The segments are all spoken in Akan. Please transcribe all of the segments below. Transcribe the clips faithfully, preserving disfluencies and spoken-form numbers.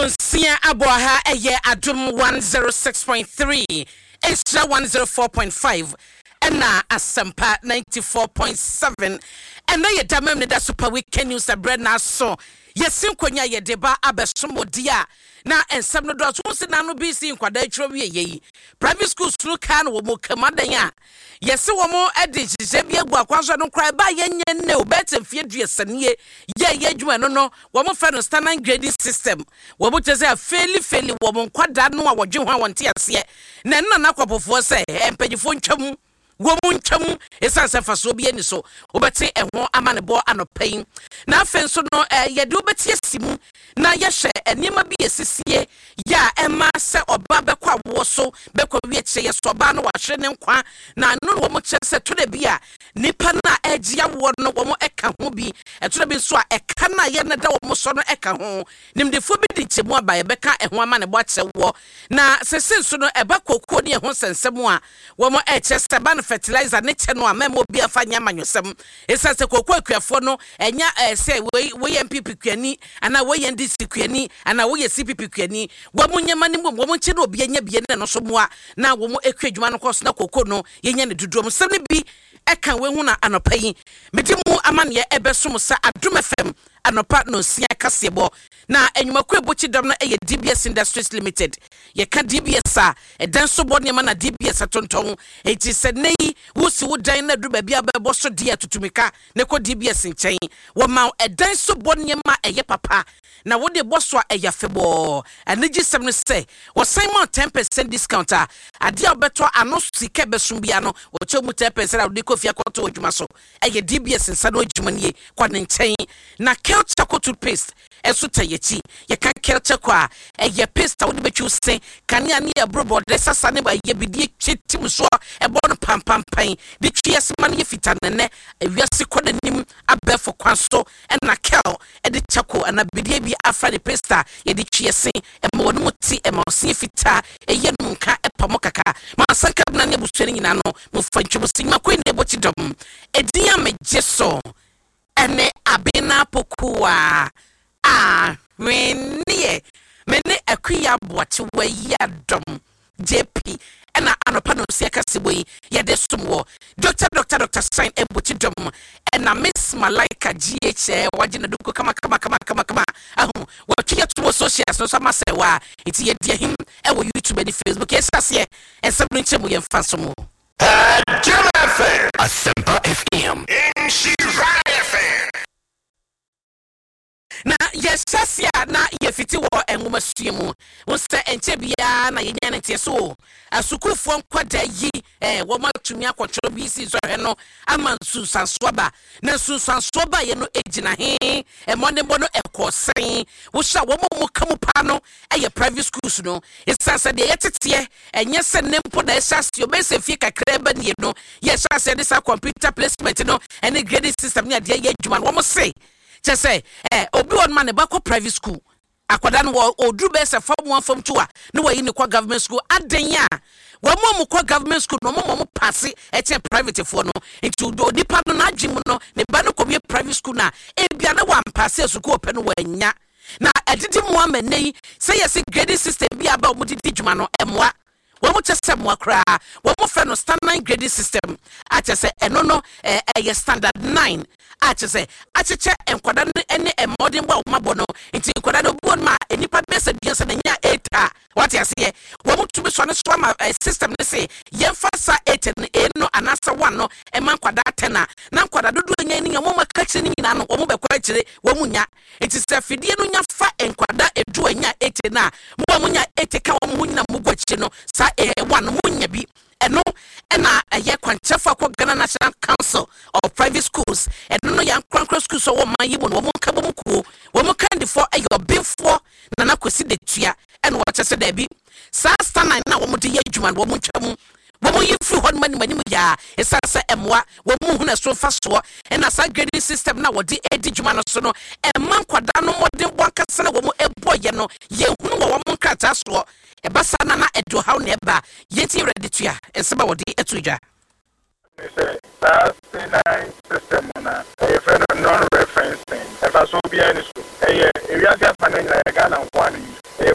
Nonsia abɔ ha, ɛyɛ Adom one oh six point three, Nhyira one oh four point five ɛna Asɛmpa ninety-four point seven. Ɛnɛ yɛ da mam ne da Super Weekend News ɛberɛ n'aso yɛsi nkonnwa a yɛde ba abɛsom odi a na nsɛm no dɔɔso. Wo si n'ano bi si nkwadaa atwerɛ wie yɛ yi, private schools no kaa no wɔ mu kama dan a yɛsi wɔn de nhyehyɛ bi agu akwan so no koraa ɛba yɛnyɛ nne o, bɛɛte mfeɛ duasa nie yɛ yɛ adwuma no no wɔn fɛ no standard grading system. Wɔn kyerɛ sɛ afeeli feeli wɔn nkwadaa no a wɔdwe ho a wɔn te aseɛ na ɛno na n'akɔpofoɔ sɛ mpanyinfoɔ ntwam wɔn mu ntwam, ɛsiane sɛ mfasoɔ bi ani so. Wobɛte ɛho ama ne bɔ anɔpa yi. Na afei nso no ɛɛ yɛde wobɛte asi mu na yɛhwɛ nneɛma bi esisie yɛ a ɛma sɛ ɔbaa bɛkɔ awoɔ so bɛkɔ wie kyerɛ yɛ so ɔbaa no wahwere ne nkwa. Na ɛno na wɔn kyerɛ sɛ tɔdɛ bi a nipa no a ɛgye awoɔ no wɔn ɛka ho bi, ɛtɔdɛ bi nso a ɛka no a yɛ no da wɔn so no ɛka ho. Nimdefoɔ bi de nkyɛmu aba, yɛbɛka ɛho ama ne bɔ akyerɛ wɔ. Na sese nso no ɛba kookoo ne ɛho nsɛnsɛm a wɔn ɛkyerɛ sɛ ɛba no fertilizer ne kyɛ no a mɛma obi afa nyɛ amanyɔsɛm, ɛsiane sɛ kookoo akuafoɔ no ɛnya ɛɛ sɛ wei wɔyɛ N P P kuani anaa wɔyɛ N D C kuani anaa wɔyɛ C P P kuani, wɔn nyɛma no mu wɔn nkyɛn na obi anya bie ne no so mmoa na wɔn ekua adwuma no kɔ so na kookoo no yɛnya ne dodoɔ mu nsɛm no bi ɛka wei ho. Na anɔpa yi mede mu amanneɛ ɛbɛsom sɛ Adom F M anɔpa nonsia kaseɛbɔ. Na anwumakuo ebokyi dɔm no yɛ D B S Industries Limited. Yɛka D B S a, ɛdan so bɔ nneɛma na D B S atontɔn. Eti sɛ nne yi wosi wo dan na duru baabi a bɛbɔ so deɛ, tutumika na kɔ D B S nkyɛn. Wɔma ɛdan so bɔ nneɛma a ɛyɛ papa na wode bɔ so a ɛyɛ afebɔɔ. Anigye sɛm no sɛ wɔsan ma ten percent discount a adeɛ a wobɛtɔ ano sika bɛsom bia no, wɔkyɛ mu ten percent a wode kɔ fie akɔtɔ adwuma so. Ɛyɛ D B S nsa no adwuma nie, kɔ ne nkyɛn. Na Kel Charcoal toothpaste ɛso ta yɛkyi. Yɛka Kel Charcoal a, ɛyɛ paste a wode bɛtwi se kanea ne ɛboro bɔɔdɛ sasa ne ɛyɛ bidie twe tim soɔ, ɛbɔ no pampampan de twi ɛsema no yɛ fita. Nɛnɛ ewiase kɔ n'anim abɛɛfo kwan so ɛna Kel ɛde charcoal ana bidie bi afra ne paste a yɛde twi ɛse, ɛma wɔn mu te, ɛma ɔse fitaa, ɛyɛ no nka ɛpa mo kaka ma asanka bena ne abusua no nyinaa no mofa ntwam si nnwuma kwan na ɛbɔ kyi dɔm. Ɛdin a megye so ɛne Abena Pokuwa Ahweneɛ. Me ne Akuya Aboakyewa yi adɔm J P ɛna anɔpa no nsia kasebɔ yi yɛde som wɔ Doctor Doctor Doctor Shine ɛbɔkyi dɔm ɛna Miss Malaika G H wagye ne doko kama kama kama kama kama ahu wɔtwe yɛ to wɔ socials no so ama sɛ wa nti yɛdi ahim ɛwɔ YouTube ne Facebook. Yɛhyɛ aseɛ ɛnsɛm no nkyɛn mu, yɛmfa nso mu. Adom F M. Asempa F M. Nhyira F M. Na yɛhyɛ ase a na yɛfiti wɔ nwomasua mu wo sɛ ɛnkyɛ biara na yɛnya no nteɛ so o, asukuufoɔ nkwadaa yi eh, wɔn atumi akɔtwerɛ bi si nsɔhwɛ no ama nsunsuansoɔ ba. Na nsunsuansoɔ ba yɛ no gyina he mmɔdenbɔ no ɛkɔɔ sɛn? Wohyɛ a wɔn a wɔn ka mu paa no ɛyɛ private schools no, ɛsiane sɛ deɛ yɛteteɛ ɛnyɛ sɛ ne mpo na ɛhyɛ aseɛ ɔbɛyɛ sɛ fie kakra ba nie no yɛhyɛ aseɛ de saa computer placement no ɛne grading system ne adeɛ yɛ adwuma no. Wɔn se kyɛ sɛ ɛ obi wɔ no ma ne ba kɔ private school, akwadaa no wɔ oduru bɛyɛ sɛ form one, form two a, ne wɔyi ne kɔ government school. Adan a wɔn a wɔkɔ government school no, wɔn a wɔn pass ɛkyɛn private foɔ no. Nti onipa no n'adwi mu no, ne ba no kɔ wie private school na ebia ne wɔn ampass sukuu ɔpɛ no wɔanya na ɛdidi mu ama nne yi sɛ yɛsi grading system bi aba a wɔn de di dwuma no ɛmoa wɔn mo kyɛ sɛ mmoa koraa. Wɔn mo fɛ no standard grading system a kyɛ sɛ ɛno no ɛɛ ɛyɛ standard nine a kyɛ sɛ akyekyɛ nkwadaa no ne mmɔdenbɔ a wɔn abɔ no. Nti nkwadaa no obi wɔ no ma nipa bɛyɛ sɛ duasa na nya eight a wate aseɛ, wɔn mo tumi sɔ ne so ama ɛ system ne se yɛmfa sa eight no, eight no anaasɛ one no ɛma nkwadaa ten a na nkwadaa dodoɔ nya ne nya wɔn aka akyire ne nyinaa no wɔn bɛkɔ akyire wɔn mu nya. Nti sɛ afidie no nya fa nkwadaa edu anya eight na mo a mo nya eight ka wɔn ho nyina mo gu akyire no saa ɛyɛ one no mo nya bi. Ɛno ɛna ɛyɛ kwankyerɛfo akɔ Ghana National Council of Private Schools. Ɛno no yɛ ankorankora schools a wɔn man yi mu no wɔn nka bɔ mu kuo. Wɔn kandifoɔ ɛyɛ ɔbenfoɔ Nana Kwesi Detua ɛna wɔkyɛ sɛ daabi, saa standard na wɔn de yɛ adwuma no wɔn ntwa mu, wɔn yi firi hɔ nom anim anim yaa, ɛsiane sɛ ɛmoa wɔn mu hunu ɛso mfa soɔ. Ɛna saa grading system na wɔde edi dwuma no so no ɛma nkwadaa no mmɔden bɔ ankasa na wɔn ɛbɔ yɛ no yɛhunu wɔ wɔn nkrataa soɔ. Ɛba saa na na ɛde ɔhaw na ɛba. Yɛnti yɛrɛ de tua nsɛm a wɔde ɛto dwa. Sɛ saa C nine system no ɛyɛ fɛ no non-referencing, ɛfa so biara ni so ɛyɛ ewiase afa no nyinaa, yɛ Ghana nko ara no yi.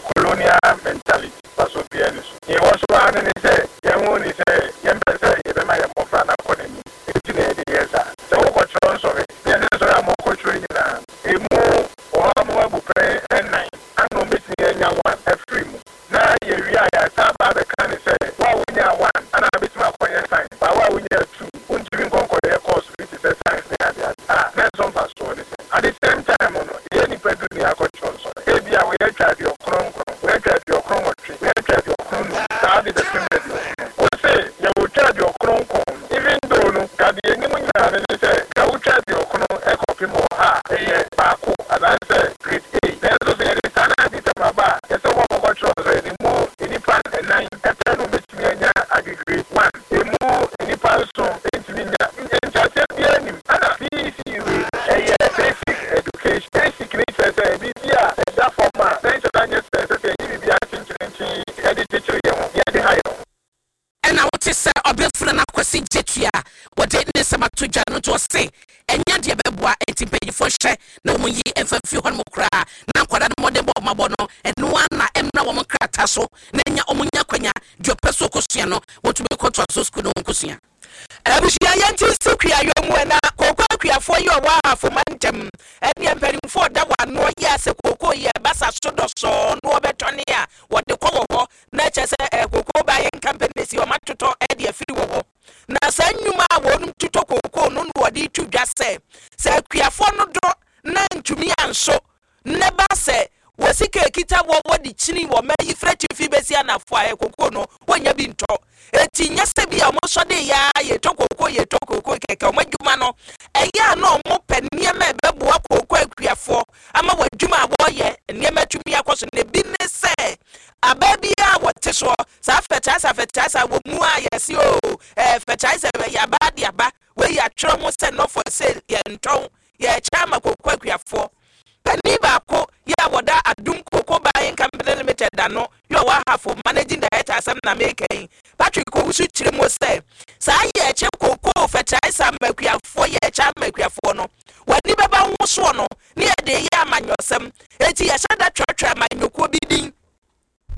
Ɛmfa mfiri hɔ nom koraa na nkwadaa no mmɔden bɔ ɔmo abɔ no, ɛno ara na ɛmmra wɔn nkrataa so na nya ɔmo nya kwanya deɛ ɔpɛ so ɔkɔsua no, wɔtumi kɔtoa so sukuu no wɔnkɔsua. Abusua, yɛnti si kuayɔ mu. Ɛna kooko akuafoɔ yi ɔwɔ Ahafoma ntɛm ɛneɛ mpanimfoɔ ɔda wano yɛ asɛ kooko yi ɛbasa so dɔsɔɔ na wɔbɛtɔne a wɔde kɔ wɔ hɔ na kyerɛ sɛ ɛ cocoa buying companies yi ɔmo atotɔ ɛde afiri wɔ hɔ. Na saa nnwuma a wɔn tutɔ kooko no na wɔde tu dwa sɛ sɛ akuafoɔ no dɔ na ntumi anso ne ba sɛ wɔsika ekita wɔ wɔde kyini wɔ mma yi fira tifi bɛsi anafo a ɛkoko no wɔnya bi ntɔ. Eti nyɛ sɛ bi a wɔn sɔ de ya yɛtɔ koko, yɛtɔ koko kɛkɛ. Wɔn adwuma no ɛyɛ a na wɔn pɛ nneɛma a ɛbɛboa koko akuafoɔ ama wɔn adwuma a wɔreyɛ nneɛma tumi akɔ so. Na ebi ne sɛ abaa bi a wɔte soɔ saa fertilizer fertilizer wɔ mu a yɛsi o ɛɛ fertilizer yɛ abaa de aba wɔyi atwerɛ ho sɛ not for sale, yɛntɔn, yɛkyɛ ama koko akuafoɔ. Panin baako yɛ a wɔda Adum Cocoa Buying Company Limited ano yɛ ɔwɔ Ahafo, managing director, asɛm na meka yi, Patrick Owusu, kyerɛ mu sɛ saa yɛkyɛ koko fertilizer ama akuafoɔ, yɛkyɛ ama akuafoɔ no, wɔani bɛba ho soɔ no ne yɛde yɛ amanyɔsɛm. Eti yɛhyɛ da twerɛtwerɛ amanyɔkuo bi din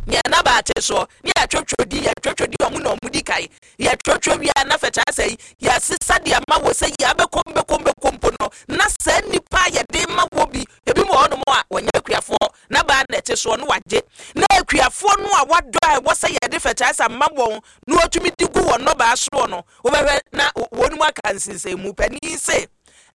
nea naba ate soɔ ne yɛatwerɛtwerɛ din, yɛatwerɛtwerɛ din ɔmo na ɔmo di kae. Yɛtwerɛtwerɛ wie a na fertilizer yi yɛasesa de ama wɔ sɛ yɛ abɛkɔm bɛkɔm bɛkɔm mpo no na saa nnipa a yɛde ma wɔ bi ebi mu wɔ hɔnom a wɔnyɛ akuafoɔ na baa na ɛte soɔ no wagye na akuafoɔ no a wadɔ a ɛwɔ sɛ yɛde fertilizer ma wɔn na wɔtumi de gu wɔn nnɔbaa soɔ no, wobɛhwɛ na wɔn mu aka nsensɛnmu. Panin se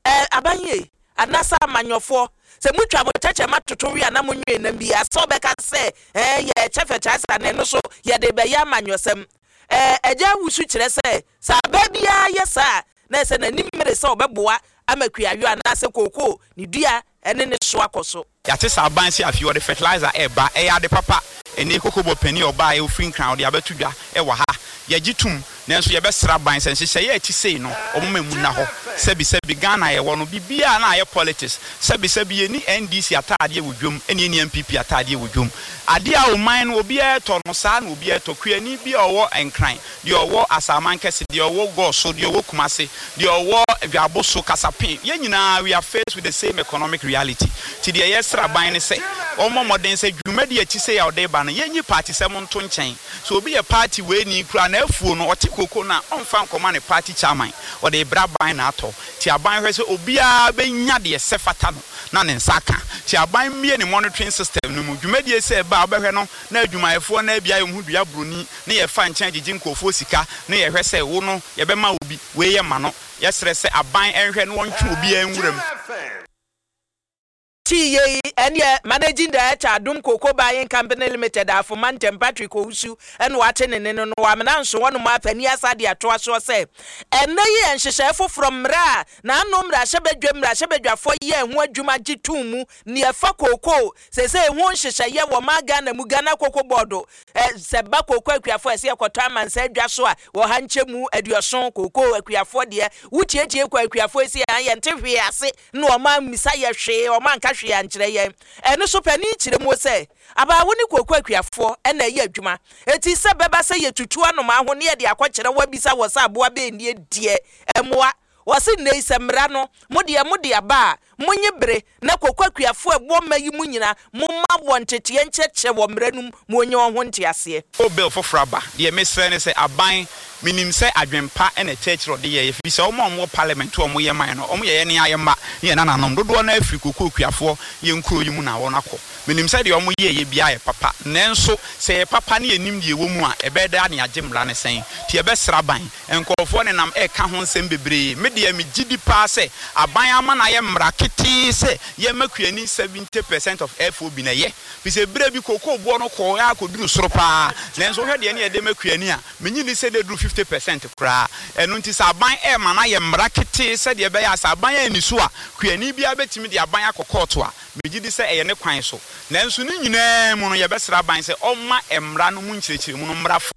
ɛɛ abanye anaasɛ amanyɔfoɔ sɛ mutwa mo kyɛkyɛ toto wi a na monwee nam bi asɛ ɔbɛka sɛ ɛɛ yɛkyɛ fertilizer na ɛno so yɛde bɛyɛ amanyɔsɛm. Ɛɛ ɛgya awusu kyerɛ sɛ sɛ abaa biara yɛ saa na ɛsɛ n'anim mmere sɛ ɔbɛboa ama kuayɔ anaasɛ kookoo ne dua ɛne ne so akɔ so. Yɛate sɛ aban sɛ afei wɔde fertilizer ɛreba, ɛyɛ ade papa. Ɛne koko bɔ panin ɔbaa ɛwɔ Nkran ɔde abɛto dwa ɛwɔ ha, yɛgye tom. Nanso yɛbɛsra aban sɛ nhyehyɛeɛ a ɛte sei no, ɔmoma mu nna hɔ. Sɛbisɛbi, Ghana yɛwɔ no, biribiara na ayɛ politics. Sɛbisɛbi, yɛni N D C ataadeɛ wɔ dwom ɛne yɛni N P P ataadeɛ wɔ dwom. Adeɛ a ɔman no obiara tɔ no saa na obiara tɔ. Kuani bi a ɔwɔ Nkran, deɛ ɔwɔ Asaman Kɛse, deɛ ɔwɔ Gɔso, deɛ ɔwɔ Kumase, deɛ ɔwɔ Dwabo so Kasapen, yɛn nyinaa we are faced with the same economic reality. Ti deɛ yɛsrɛ aban ne sɛ ɔmmɔ mmɔden sɛ dwumadi akyi sɛ yɛ ɔde ba no, yɛnyi party sɛm nto nkyɛn. So obi yɛ party wei ni kura na afuo no ɔte koko no a, ɔmfa nkɔma ne party chairman, ɔde brɛ aban na atɔ. Ti aban hwɛ sɛ obiara bɛnya deɛ sɛ fata no na ne nsa aka. Ti aban mmie ne monitoring system no mu. Dwumadie sɛ ɛba a, wobɛhwɛ no na adwumayɛfoɔ na abia yɛ ho dua buroni ne yɛfa nkyɛn gyegye nkurɔfoɔ sika ne yɛhwɛ sɛ wo no yɛbɛma obi wei yɛ ma no. Yɛsrɛ sɛ aban ɛnhwɛ na wɔntwe obiara nwura mu. Ti yei ɛneɛ managing director, Adom Cocoa Buying Company Limited, Afoma Ntɛm, Patrick Owusu, ɛna wate ne ne no no wamena nso wɔnom apani asa de atoa soɔ sɛ ɛnɛ yi yɛ nhyehyɛe foforɔ mmerɛ a n'ano mmarahyɛbadwa mmarahyɛbadwafoɔ yɛ ho adwuma gye tum mu ne ɛfa kookoo sɛsɛ ɛho nhyehyɛeɛ wɔ ma Ghana mu, Ghana Cocoa Board. ɛ sɛ ba kookoo akuafoɔ ɛsɛ yɛkɔtɔ amansa adwa so a wɔha nkyɛ mu aduɔson kookoo akuafoɔ deɛ wotietie kɔ akuafoɔ si yɛn yɛnte hwee ase na ɔma mmisa yɛ hwee, ɔma nka hwee ankyerɛ yɛn. Ɛno so panin kyerɛ mu sɛ abaawo ne kookoo akuafoɔ ɛna ɛyɛ adwuma, eti sɛ bɛba sɛ yɛtutu anomaa ho ne yɛde akɔkyerɛ wɔabisa wɔ sɛ aboa bɛɛ deɛ ɛmoa wɔsi nne yi sɛ mmara no mo deɛ mo de aba a, monye bere na koko akuafoɔ ɛwɔ mma yi mu nyinaa momma wɔn nteteɛ nkyerɛkyerɛ wɔ mmara no mu ma onye wɔn ho nteaseɛ. O bill foforɔ aba deɛ, mesrɛ ne sɛ aban, menim sɛ adwempa ɛna ɛkyerɛkyerɛ ɔde yɛ, ɛfiri sɛ ɔmo a ɔmo wɔ parliament a ɔmo yɛ man no, ɔmo yɛ yɛ ne ayɛ mma ne yɛ nananom dodoɔ no afiri koko akuafoɔ yɛ nkuro yi mu na wɔn akɔ. Menim sɛ deɛ ɔmo yɛ yɛ biara yɛ papa, nanso sɛ yɛ papa ne yɛnim deɛ ɛwɔ mu a, ɛbɛyɛ dɛ ne agye mmara ne sɛn. Nti yɛbɛsrɛ aban, nkurɔfoɔ nenam ɛka ho nsɛm bebree. Me deɛ megye di paa sɛ aban ama no ayɛ mmara ketee sɛ yɛma kuani seventy percent of F O B na ɛyɛ fi sɛ berɛ bi kokoo boɔ no kɔɔ akɔduru soro paa, nanso wohwɛ deɛ ne yɛde ma kuani a, menyi ni sɛ de duru fifty percent koraa. Ɛno nti sɛ aban ɛma no ayɛ mmara ketee sɛdeɛ ɛbɛyɛ a sɛ aban ani so a, kuani biara bɛtumi de aban akɔ kɔɔto a, megye di sɛ ɛyɛ ne kwan so. Nanso ne nyinaa mu no, yɛbɛsrɛ aban sɛ ɔmma mmara no mu nkyerɛkyerɛmu no mmara fo.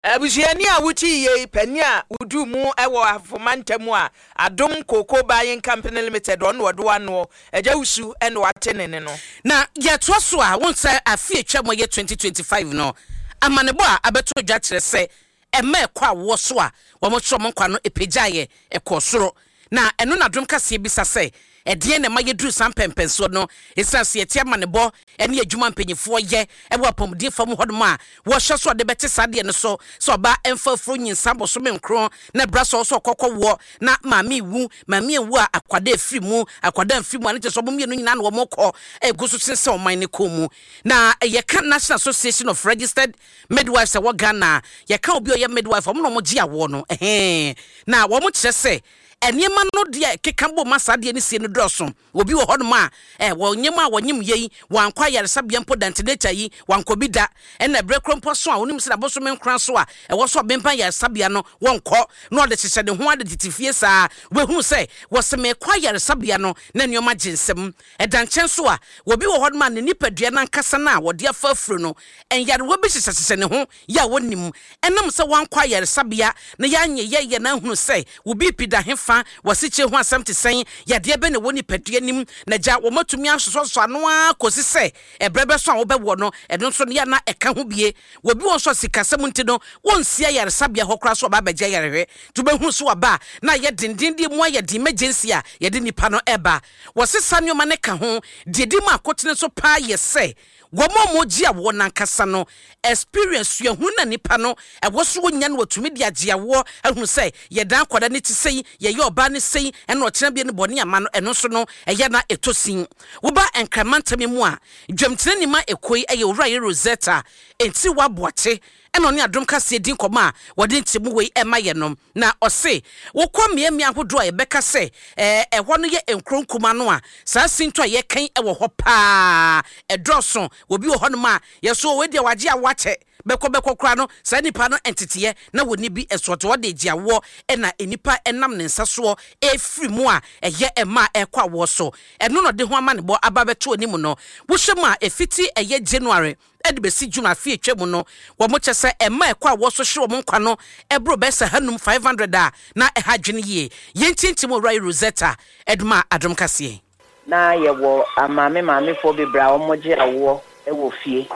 Abusuani a wotii yei, panin a wodu mu wɔ Afoma ntam a Adom Cocoa Buying Company Limited, ɔno ɔde wanoɔ Agya Wusu ɛna wate ne ne no. Na yɛtoa so a, wɔn sɛ afe atwa mu yɛ twenty twenty-five no, amanebɔ a abɛto dwa kyerɛ sɛ ɛma ɛkɔ awoɔ so a wɔn kyerɛ wɔn nkwa no epagyaeɛ ɛkɔɔ soro. Na ɛno na Adom Kaseɛ bisa sɛ Ɛdeɛn na ɛma yɛduru saa mpɛmpɛnsoɔ no? Ɛsiane sɛ yɛte amanebɔ ne adwuma mpanyinfoɔ yɛ ɛwɔ apɔmuden fam hɔnom a wɔhyɛ so ɔde bɛte saa deɛ no so sɛ ɔbaa ɛmfa afuro nyinsa bosome nkron na ɛbra sɛ ɔsɛ ɔkɔkɔ woɔ na maame wu, maame ewu a, akwadaa efiri mu, akwadaa mfiri mu a, ne kyerɛ sɛ ɔmo mmienu nyinaa na wɔn kɔ egu so sensɛn ɔman ne kɔn mu. Na yɛka National Association of Registered Midwives ɛwɔ Ghana, yɛka obi a ɔyɛ midwife, ɔmo na ɔmo gye awoɔ no ɛhɛn, na wɔn kyerɛ sɛ nneɛma no deɛ keka bɔ ma saa deɛ no sie no dɔɔso. Obi wɔ hɔnom a ɛ wɔnyɛm a wɔnyem yei, wankɔ ayaresabea mpo da, antenatal yi wankɔ bi da. Ɛna ɛberɛ koro mpo so a onim sɛ n'abosome nkora so a ɛwɔ so ɔbɛmpa ayaresabea no, wɔnkɔ na ɔde hyehyɛ ne ho ade tete fie saa. Wobɛhunu sɛ wɔsɛ mekɔ ayaresabea no na nneɛma gye nsɛm. Ɛda nkyɛn so a, obi wɔ hɔnom a ne nipadua no ankasa no a wɔde afa afuro no, nyarewa bi hyehyɛhyehyɛ ne ho yɛ a wɔnim. Ɛnam sɛ wankɔ ayaresabea na yɛanyɛ yɛyɛ na ahunu sɛ wo B P da hefa, wɔsekyere ho asɛm te sɛn, yadeɛ bɛ na ɛwɔ nipadua nim na gya wɔmatumi asosɔsosɔ ano ara kɔsi sɛ ɛberɛ bɛso a wobɛwɔ no, ɛno nso no yɛ na ɛka ho bie. Wɔbi wɔ nso a sikasɛm nti no wɔnsi ayaresabea hɔ koraa so ɔba abɛgye ayarehwɛ, nti wobɛhunu so waba a na ayɛ dendenden mu, ayɛ den emergency a yɛde nipa no ɛba. Wɔsesa nneɛma no ka ho deɛ di mu akotene so paa yɛ sɛ wɔn a wɔgye awoɔ nankasa no experience, suahunu na nipa no ɛwɔ so wɔnya no, wɔtumi de agye awoɔ ahunu sɛ yɛdan akwadaa ne ti sɛyi, yɛyɛ ɔbaa ne sɛyi, ɛna ɔkyerɛ bi ne bɔne ama no. Ɛno nso no ɛyɛ na ɛtɔ sin. Woba Nkramantam mu a, dwamtena nima ekoi ɛyɛ Owura yɛ Rosetta Ntiri Waboakye, ɛna ɔne Adom Kaseɛ di nkɔmɔ a wɔde nkyɛmu wei ɛma yɛ no. Na ɔse wokɔ mmeammea ahodoɔ a yɛbɛka sɛ ɛɛ ɛhɔ no yɛ nkuro nkuma no a, saa sinto a yɛkan ɛwɔ hɔ paa ɛdɔɔso. Obi wɔ hɔnom a yɛso wei deɛ wagye a wakyɛ bɛkɔ bɛkɔ koraa no, saa nipa no nteteɛ na wɔni bi ɛsoɔte wɔde gye awoɔ, ɛna nipa ɛnam ne nsa soɔ ɛfiri mu a ɛyɛ ɛma ɛkɔ awoɔ so. Ɛno na ɔde ho ama ne bɔ aba bɛto anim no. Wohyɛ mu a, ɛfiti ɛyɛ January ɛde bɛsi June afe atwa mu no, wɔn kyɛ sɛ ɛma ɛkɔ a wɔso hye wɔn nkwa no ɛboro bɛyɛ sɛ hanum five hundred a na ɛha adwene yie. Yɛntientie mu Owura yi Rosetta ɛdoma Adom Kaseɛ. Na yɛwɔ amaame maamefoɔ bebree a wɔgye awoɔ wɔ fie,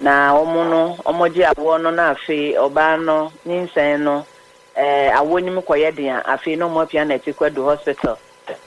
na wɔn no wɔgye awoɔ no na afei ɔbaa no nyinsɛn no ɛɛ awoɔ nim kɔyɛ den a, afei na wɔn apia na ɛte kɔ hospital.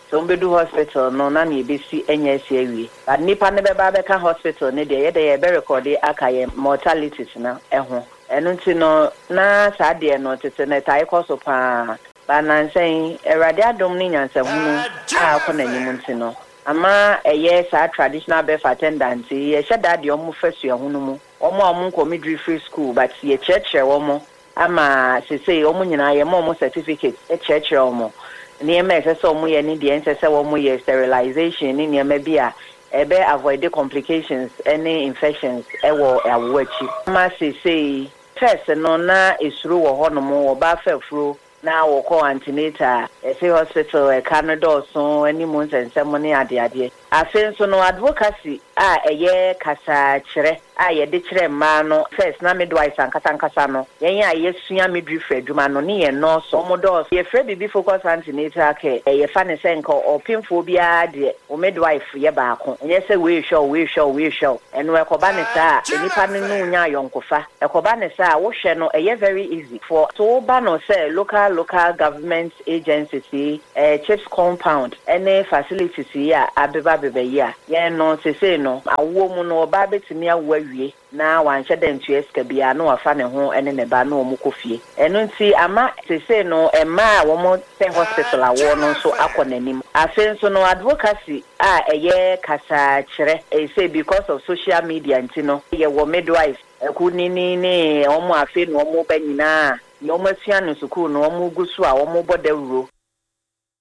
Sɛ wɔn bɛdu hospital no na nea ebesi nyɛ asi awie, but nipa no bɛba abɛka hospital no deɛ, yɛde yɛbɛ record aka yɛn mortalities no ho. Ɛno nti no na saa deɛ no tete no ɛtae kɔ so paa ba. Nansɛn Awurade adom ne nyansahunu a akɔ n'anim nti no ama ɛyɛ saa traditional birth attendant yi, yɛhyɛ da deɛ ɔmo fa suahunu mu, wɔn a wɔn nkɔ midwifery school, but yɛkyerɛkyerɛ wɔn ama sesei wɔn nyinaa yɛma wɔn certificate, kyerɛkyerɛ wɔn nneɛma a ɛsɛ sɛ wɔn yɛ ne deɛ ɛnsɛ sɛ wɔn yɛ, sterilization ne nneɛma bi a ɛbɛ avoid complications ne infections ɛwɔ awoɔ akyi. Ama sesei first no na esuro wɔ hɔnom, ɔbaa fɛfuro na wɔkɔ antenatal, ɛsɛ hospital ɛka no dɔɔso anim nsɛnsɛm ne adeadeɛ. Afei nso no advocacy a ɛyɛ kasakyerɛ a yɛde kyerɛ mmaa no, first na midwives ankasa ankasa no, yɛn a yɛsua midwifery adwuma no ne yɛn nɔɔso, wɔn dɔɔso. Yɛfrɛ biribi focus antenatal care. Yɛfa ne sɛ nka ɔpemfoɔ biara deɛ, wo midwife yɛ baako, ɛnyɛ sɛ wei hwɛ wo, wei hwɛ wo, wei hwɛ wo. Ɛno ɛkɔba ne saa a, nipa no ne nya ayɔnkofa. Ɛkɔba ne saa a, wohwɛ no ɛyɛ very easy for so woba no sɛ local local government agencies yi, ɛɛ CHPS compound ɛne facilities yi a abeba beba yi a, yɛn no sesei no awoɔ mu no, ɔbaa bɛtumi awo awie na wanhyɛ dɛ ntua sika biara na wafa ne ho ne ne ba na wɔn kɔ fie. Ɛno nti ama sesei no mmaa a wɔn pɛ hospital awoɔ no nso akɔ n'anim. Afei nso no advocacy a ɛyɛ kasakyerɛ ɛsɛ because of social media nti no, yɛwɔ midwife ɛku ne ne ne wɔn afei na wɔn ba nyinaa deɛ wɔn asua no sukuu no, wɔn gu so a wɔn bɔ dawuro.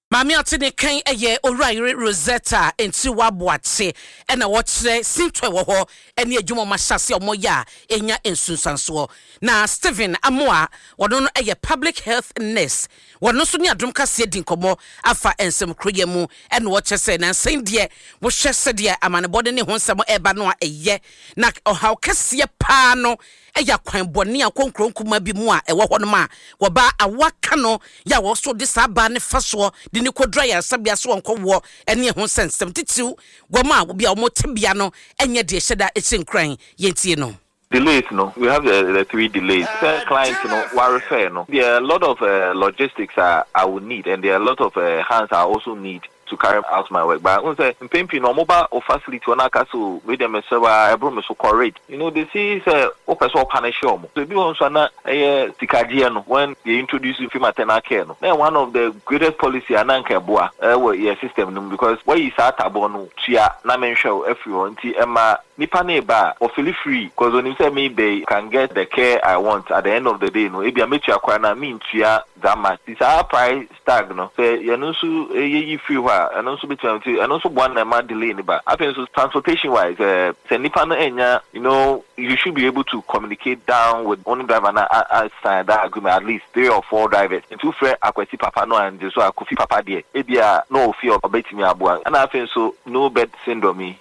Maame ate ne kan yɛ Owura yere Rosetta Nti Waboakye, ɛna wɔkyerɛ sinto ɛwɔ hɔ ɛne adwuma ɔmo ahyɛ ase a ɔmo yɛ a ɛnya nsunsuansoɔ. Na Stephen Amoa, wɔno no yɛ public health nurse, wɔno nso ne Adom Kaseɛ di nkɔmmɔ afa nsɛm kuroyɛ mu, ɛna wɔkyerɛ sɛ nansɛn deɛ wohwɛ sɛdeɛ amanebɔde ne ho nsɛm ɛreba no a, ɛyɛ na ɔhaw kɛseɛ paa no ɛyɛ akwan bɔne a kɔ nkuro nkuma bi mu a ɛwɔ hɔnom a wɔba awoa ka no yɛ a wɔso de saa baa ne fa soɔ de ne kɔdura ayaresabea so wɔnkɔwoɔ, ɛne ɛho nsɛnsɛm titiriw wɔn a obi a wɔn tebea no ɛnyɛ deɛ ɛhyɛ da ɛhyɛ nkuran. Yɛntie no. Delays no, we have the, the three delays. Sɛ client no wa refer no, there are a lot of uh, logistics I, I will need, and there are a lot of uh, hands I also need. to carry out my work. But wohu sɛ mpɛn pii no ɔmo ba o facility hɔ na aka sɛ o wei deɛ mesrɛ wo a ɛboro me so kɔ rate. You know they see sɛ wopɛ sɛ ɔpunish ɔmo. So ebi wɔ hɔ nso a na ɛyɛ sikagyeɛ no when they introduce free maternal care no na ɛyɛ one of the greatest policy a na anka ɛboa ɛwɔ yɛ system no mu because wayi saa atabɔ no tua na menhwɛ wo afiri hɔ nti ɛma nipa no reba a ɔfili free cause onim sɛ mereba yi can get the care I want at the end of the day no ebia metua koraa no a mentua that much nti saa price tag no sɛ yɛno nso yɛyi firi hɔ a ɛno nso bɛtumi nti ɛno nso boa na ɛma delay no ba. Afei nso transportation wise eh, sɛ nipa no annya you know you should be able to communicate down with wo ne driver no a a sign that agreement at least three or four drivers nti wofrɛ Akwasi papa no angye so a Kofi papa deɛ ebia na ɔwɔ fie a ɔbɛtumi aboa ɛna afei nso no bed syndrome yi.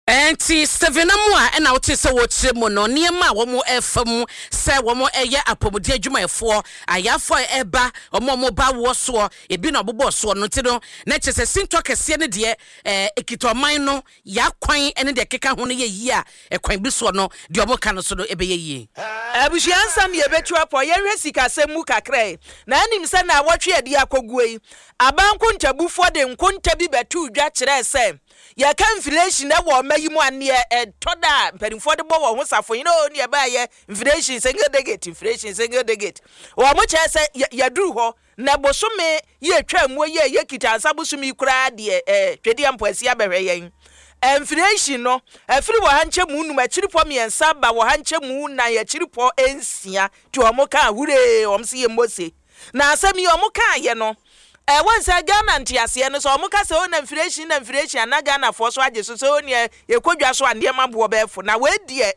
Enti Stephen Amoah na wotee sɛ wɔrekyerɛ mu no, nneɛma a wɔrefa mu sɛ wɔyɛ apɔmuden adwumayɛfoɔ, ayarefoɔ a ɛreba, wɔn a wɔba awoɔ soɔ, ebi na wɔbobɔɔ soɔ no nti no, na kyerɛ sɛ sintɔ kɛseɛ no deɛ, ɛkita ɔman no, y'akwan ne deɛ ɛkeka ho no yɛ yie a, ɛkwan bi soɔ no, deɛ wɔka no so no ɛbɛyɛ yie. Abusua nsɛm yɛbɛtu apɔ, yɛnhwɛ sikasɛm mu kakra yi. Na anim sɛ naawɔtwe a ɛde akɔguo yi, aban nkontabufoɔ de nkonta bi bɛtoo dwa kyerɛɛ sɛ Yɛka inflation wɔ ɔma yi mu a, neɛ ɛtɔ da a mpanimfoɔ de bɔ wɔn ho safohene oo, neɛ ɛbaeɛ inflation single digit, inflation single digit. Wɔn kyerɛ sɛ yɛaduru hɔ, na bosome yi atwa muo yi a yɛkita ansa bosome yi koraa deɛ ɛɛ Twedeɛ Mpoasi abɛhwɛ yɛn. Inflation no, afiri wɔ ha nkyɛmu nnum akyiripɔ mmiɛnsa aba wɔ ha nkyɛmu nnan akyiripɔ nsia, nti wɔn kaa huree, wɔn se yɛmmɔ se. Na asɛm yi wɔn kaeɛ no, Eh wohu sɛ Ghana nteaseɛ no sɛ ɔmo ka sɛ oh na mfiration na mfiration a na Ghanafoɔ so agye so sɛ oh neɛ yɛkɔ dwa so a nneɛma boɔ bɛyɛ fo na wei deɛ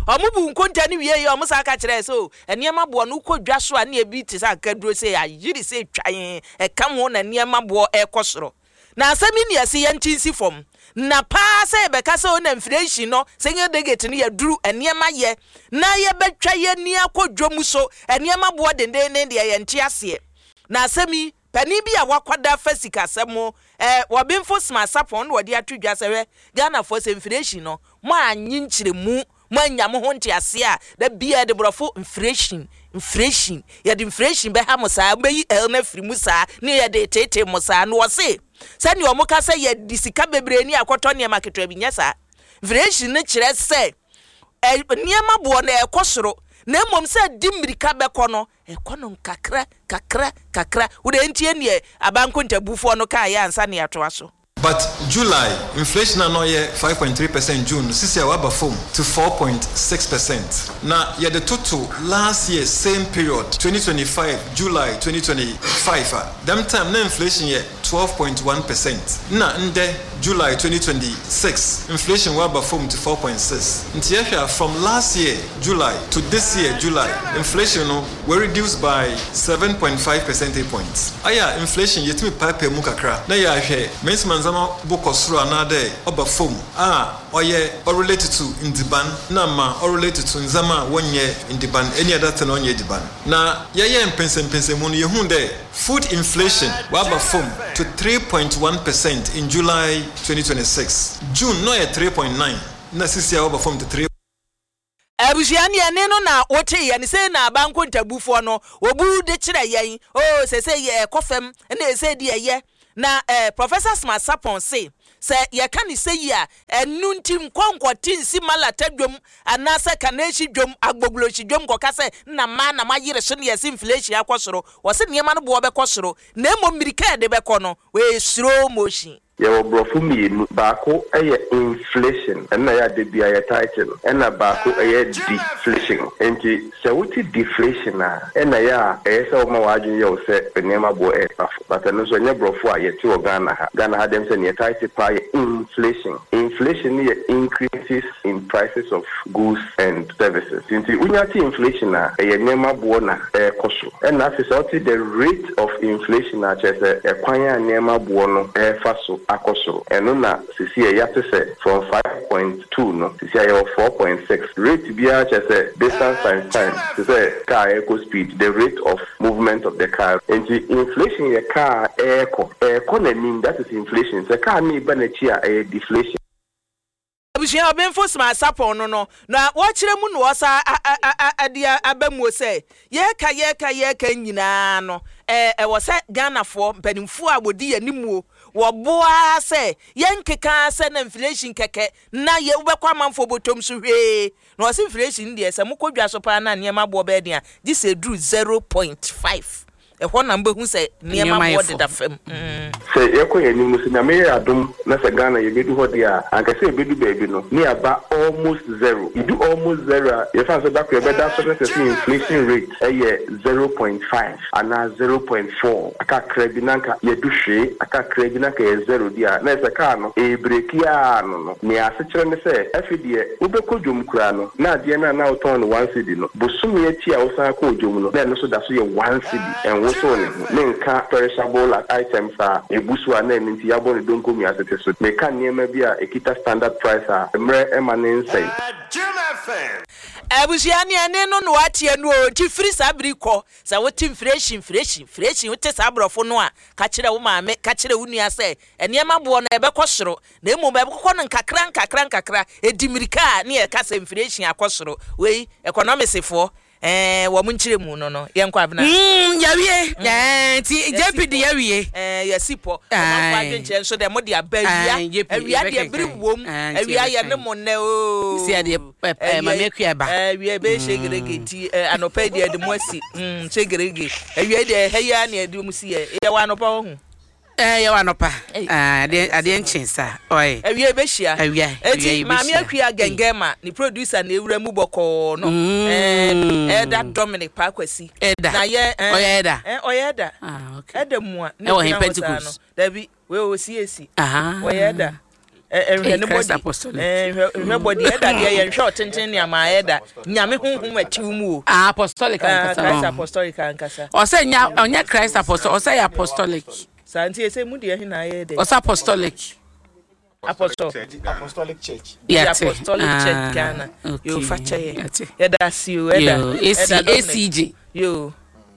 ɔmo bu nkonta no wie yɛ ɔmo san ka kyerɛɛ sɛ oh nneɛma boɔ no wokɔ dwa so a ne ebi te sɛ akaduro sei ayere sei twan ɛka ho na nneɛma boɔ ɛkɔ soro na asɛm yi ne yɛse yɛnte nsi fam na paa sɛ yɛbɛka sɛ oh na mfiration no single digit no yɛduru nneɛma yɛ na yɛbɛtwa yɛni akɔ dwa mu so nneɛma boɔ dendenden deɛ yɛnte aseɛ. Na asɛm yi, panin bi a wakwada fa sikasɛm ho, eh, Ɔbenfo Smart Sarpong na ɔde ato dwa sɛ, hwɛ, Ghanafoɔ sɛ mfireehyin no, moannye nkyerɛmu, moannya mo ho nteaseɛ a, da biara yɛde borɔfo mfireehyin, mfireehyin, yɛde mfireehyin bɛha mo saa, mobɛyi L no afiri mu saa, ne yɛde reteetee mo saa. Na ɔse, sɛdeɛ wɔka sɛ yɛde sika bebree ni akɔtɔ nneɛma ketewa bi, nyɛ saa. Mfireehyin no kyerɛ sɛ, eh, nneɛma boɔ no ɛrekɔ soro, na mmom sɛ ɛde mmirika bɛkɔ no, Ɛkɔ no nkakra kakra kakra. Wo deɛ ntie neɛ abankontabufoɔ no kaeɛ ansa na yɛatoa so. But July inflation a na ɔyɛ five point three percent June no sisi a waba fam to four point six percent. Na yɛde toto last year same period twenty twenty five July twenty twenty five a, dɛm time na inflation yɛ twelve point one percent nna ndɛ July twenty twenty six inflation wɔaba famu to four point six ntsi yɛhwɛ a from last year July to this year July inflation no oereduce by seven point five percentage points. Ayɛ a inflation yetumi paapaa mu kakra na yɛahwɛ mesi ma ndzɛmba bo kɔ sor anaadɛ ɔba famu a ɔyɛ ɔrelate to ndziban na ma ɔrelate to ndzɛmba a wɔnnyɛ ndiban, any other thing a ɔnnyɛ edziban. Na yɛyɛɛ mpɛnsɛmpɛnsɛmu no yehun dɛ food inflation ɔaba famu to three point one percent in July twenty twenty six, June na ɔyɛ three point nine na sesei ɔaba famu to three. Abusua no yɛne no na wotee yɛn, sei na aba nkontabufoɔ no wɔbu de kyerɛ yɛn, oo sesei yɛ ɛkɔ fam na ɛsei deɛ ɛyɛ. Na eh, Professor Smart Sarpong se, sɛ yɛka no sɛyi a, ɛno nti nkɔ nkɔte nsi Malata dwom anaasɛ Kanehyi dwom, Agbogbloshie dwom nkɔka sɛ nna mmaa na moayere so na yɛse inflation akɔ soro. Wɔse nneɛma no boɔ bɛkɔ soro, na mmom mmirika a ɛde bɛkɔ no, ɛyɛ slow motion. Yɛwɔ borɔfo mmienu, baako yɛ inflation, ɛno na ɛyɛ a da biara yɛtae te no, ɛna baako yɛ deflation. Enti sɛ wote deflation a, ɛna ɛyɛ a ɛyɛ sɛ woma w'adwene yɛ wo sɛ nneɛma boɔ reba fam. But ɛno nso ɛnyɛ borɔfo a yɛte wɔ Ghana ha. Ghana ha deɛ ɛm sɛ nea yɛtae te paa yɛ inflation. Inflation no yɛ increases in prices of goods and services. Nti wonya te inflation a, ɛyɛ nneɛma boɔ na ɛrekɔ soro. Ɛna afei sɛ wote the rate of inflation a, kyerɛ sɛ ɛkwan a nneɛma boɔ no refa so akɔ soro. Ɛno na seesei yɛate sɛ from five point two no, seesei yɛwɔ four point six. Rate biara kyerɛ sɛ distance times time, te sɛ car a ɛrekɔ speed, the rate of movement of the car. Nti inflation yɛ car a ɛrekɔ, ɛrekɔ n'anim, that is inflation. Sɛ car no reba n'akyi a, ɛyɛ deflation. Abusua. Abusua, ɔbenfo Smart Sarpong no no na wɔkyerɛ mu na wɔsa de aba muo sɛ yɛreka yɛreka yɛreka nyinaa no ɛwɔ sɛ Ghanafoɔ mpanimfoɔ a wɔdi yɛn animuo wɔboa sɛ yɛnkeka sɛ na inflation kɛkɛ na yɛ wobɛkɔ amanfoɔ bɔtɔm so hwee. Na ɔse inflation deɛ, sɛ mokɔ dwa so paa na nneɛma boɔ bɛyɛ den a, gye sɛ ɛduru zero point five, ɛhɔ na mobɛhu sɛ nneɛma boɔ deda fam. Sɛ yɛkɔ yɛn anim no, sɛ Nyame yɛ adom na sɛ Ghana yɛbɛdu hɔ deɛ a, anka sɛ yɛbɛdu baabi no ne yɛaba almost zero. Yɛdu almost zero a, yɛfa no sɛ da koro yɛbɛda so na sɛ sɛ inflation rate yɛ zero point five anaa zero point four, akakra bi na anka yɛadu hwee, akakra bi na anka yɛ zero deɛ a, na ɛsɛ sɛ kaa no ɛrebreki ara no no. Nea asekyerɛ ne sɛ, afei deɛ wobɛkɔ dwom koraa no, na adeɛ no a na wotɔn no one cedi no, bosome akyi a wosan kɔɔ dwom no, na ɛno nso da so yɛ one cedi. Ɛnwosow ne ho. Menka perishable items a ebu so a na ɛno nti yɛabɔ no donko mmiasete so. Meka nneɛma bi a ekita standard price a mmerɛ mma no nsɛe. Abusua, nea ɛne no na woateɛ no oo, nti firi saa bere yi kɔ, sɛ wote mfirekyi, mfirekyi, mfirekyi, wote saa borɔfo no a, ka kyerɛ wo maame, ka kyerɛ wo nua sɛ, nneɛma boɔ no ɛbɛkɔ soro, na mmom ɛbɛkɔ no nkakra nkakra nkakra, ɛdi mmirika a ne yɛka sɛ mfirekyi akɔ soro. Wei, economics-foɔ, ɛɛ, wɔn nkyerɛmu no no, yɛnkɔ Abena. Mm, yɛawie. Mm. Ɛɛ, nti Yɛasi J P de pɔ. yɛawie. Ɛɛ, yɛasi pɔ. Ɔmanfoɔ Ae. adwenkyerɛ nso dɛ, mode aba awia. Ae, J P, Awia deɛ, bere yɛbɛkenkan. wom. Ae, nti Awia yɛne yɛbɛkan. mo nnɛ oo. Sisi adeɛ, ɛ, ɛ, Awia Maame yi, Akua ɛba. ɛɛ, awia ɛbɛyɛ shegerege Mm. nti, ɛ, anɔpa yi deɛ yɛde mo asi. Mm, shegerege. Awia yi deɛ, ɛha yi ara na yɛde mo si yɛ. Yɛwɔ anɔpa wɔ ho. Ɛɛ, yɛwɔ anɔpa. Ei, Ah, adeɛ, ɛyɛ adeɛ asɛm o. nkye saa. Ɔe. Awia yɛbɛhyia. Awia, awia Eti Maame yɛbɛhyia. Akua Ei. Gɛngɛma, ne producer na ewura mu bɔkɔɔ no. Ɛɛ, Mm. Elder Dominic Paakwasi. Elder. Na yɛ, ɛɛ, Ɔyɛ elder? ɛɛ, ɔyɛ elder. Ah, okay. Elder mua na Ɛwɔ he, egyina hɔ saa no. Pentecost? Dabi, wei ɔwɔ C A C. Ah. Ɔyɛ elder. Ɛ, ɛ, nhwɛ Ei, ne Christ body. Apostolic. Ɛɛ, nhwɛ, nhwɛ body. Elder deɛ yɛnhwɛ ɔtenten ne ama elder. Nyame honhom akyiw mu o. Ah, apostolic Ah, ankasa. Christ Oh. Apostolic ankasa. Ɔsɛ nya, ɔnyɛ Christ Apostolic, ɔsɛ yɛ apostolic. Saa nti ɛsɛ mu deɛ he na ayɛ dɛ. Ɔsɛ apostolic. Apostle. Apostolic Church. The Yate. Apostolic Church Ah, Ghana. Yo, okay. fa kyɛ yɛ. Yate. Yɛda ase o, ɛda. Yo, A C, Ɛda Dominic. A C G. Yo.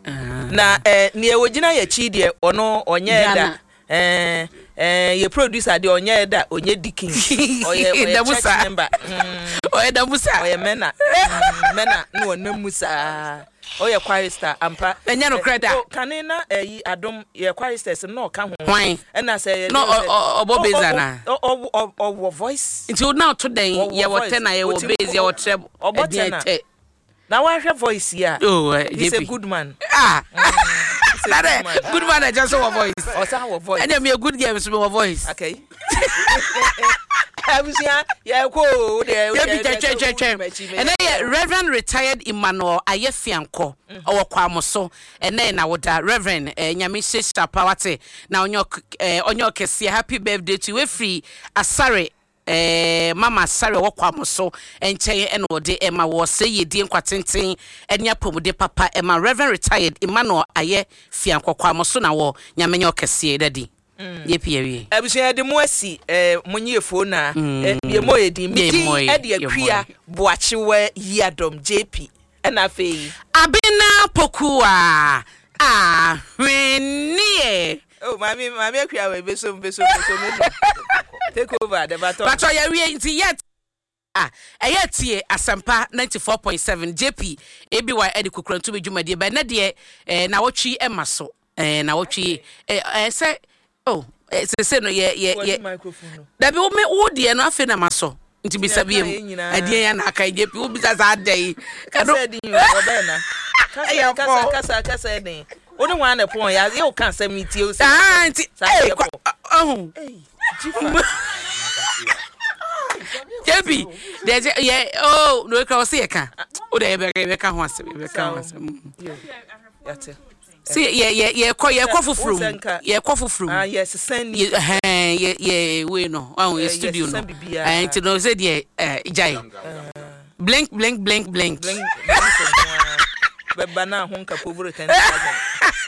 Ah. Na eh, nea ogyina yɛ akyi deɛ, ɔno ɔnyɛ ɛda. Ghana. Eh, eh, yɛ producer deɛ ɔnyɛ ɛda, ɔnyɛ deacon. Ɔyɛ, ɔyɛ Damu church saa. member. Mm. Ɔyɛ damu saa. Ɔyɛ mɛna. Mm, mɛna na ɔnam mu saa. Ɔyɛ chorister ampa. Ɛnyɛ nokorɛ da. Oh, kane na ɛyi adom yɛ choristers no na ɔka ho. Hwan? Ɛna sɛ yɛ Na de sɛ ɔ-, ɔ-, ɔbɔ ɔ-, bass ɔ-, anaa? ɔ-, ɔ-, ɔ-, ɔwɔ voice. Nti wo na ɔto dɛn? Ɔwɔ Yɛwɔ voice. tenor, yɛwɔ Ɔtumi bass, yɛwɔ treble. ɔbɔ Ɛdeɛn tenor. tɛ? Na wahwɛ voice yi a, Oh, eh, he's a J P. good man. Ah. Mm, he's a Na good dɛ, man. good man ɛkyɛ sɛ wɔ voice. Ɔsan wɔ voice. Ɛnna mi yɛ good girl nso mi wɔ voice. Okay. Abusua, yɛkɔ o, wo deɛ, wo J P, deɛ, twɛn, twɛn, wo twɛn, twɛn. m'akyi, Ɛnɛ yɛ Reverend retired Emmanuel Ayefiankɔ, ɔwɔ Kwamoso. Ɛnɛ yɛ n'awoda. Reverend, eh, Nyame hyehyɛ pa wate. Na ɔnyɛ ɔk-, eh, ɔnyɛ ɔkɛseɛ. Happy birthday to you. Wefiri Asare, eh, Mama Asare ɔwɔ Kwamoso nkyɛn ɛna ɔde ɛma wɔ sɛ yɛdie nkwa tenten ɛne apɔmuden papa ɛma Reverend retired Emmanuel Ayefiankɔ Kwamoso na wɔ Nyame nyɛ ɔkɛseɛ dadi. Mm. Yɛ pii awie. Abusua yɛde mo asi, eh, mo nye fo na, Mm. eh, yɛ mo yɛ din. Mi Yɛ din mo yɛ, ɛde yɛ mo Akua yɛ. Boakyewa Yiadom J P. Ɛna afei. Abena Pokuwa Ahweneɛ. Oh, maame, maame Akua wɔ ebesom, besom, besom, besom. Take over the baton. Patro yɛ wie nti yɛ a ɛyɛ tie Asɛmpa ninety-four point seven J P A B Y ɛde kukurantu bi dwumadie bɛn ne deɛ, eh, na wɔtwi ɛma so. Eh, na wɔtwi, eh, eh, sɛ, oh, eh, sɛ, sɛ no, yɛ, yɛ, Wɔde yɛ. microphone no. Dabi, wo me, wo deɛ no, afei na ma so. Nti bisa Nti bi mu. ɛka yɛn nyinaa. Ɛdeɛ yɛ na aka yi, J P, wo bisa saa da yi. Kasa Ɛno- ɛdin yi, ɔbɛn na. Kasa, Ɛyɛ kasa, fɔ. kasa, kasa ɛdin. Wo ne wɔn na pɔn, yɛ, yɛ wo ka asɛm yi tie o sɛ. Ah, nti, Saa eh, yɛ kwa, pɔ. ɔho. Ei, Jifa. J P, deɛ sɛ, yɛ, oh, no, ekura ɔsi yɛ ka. O de, yɛ bɛ, yɛ bɛ ka ho asɛm, yɛ bɛ ka ho asɛm. Yo, yate. Si, yɛ, yɛ, yɛ kɔ, yɛ kɔ Sɛ, foforɔ mu. wo sɛ nka- Yɛ kɔ foforɔ mu. Ah, yɛ sesa ni. Yɛ, ɛhɛn, yɛ, yɛ, wei no, ɔho, yɛ Eh, yɛ studio sesa no. biribiara. Eh, nti no, sɛ deɛ, eh, gyae. Blink, blink, blink, blink. Blink, blink nko ara. Bɛba na ho nka povoro ten thousand.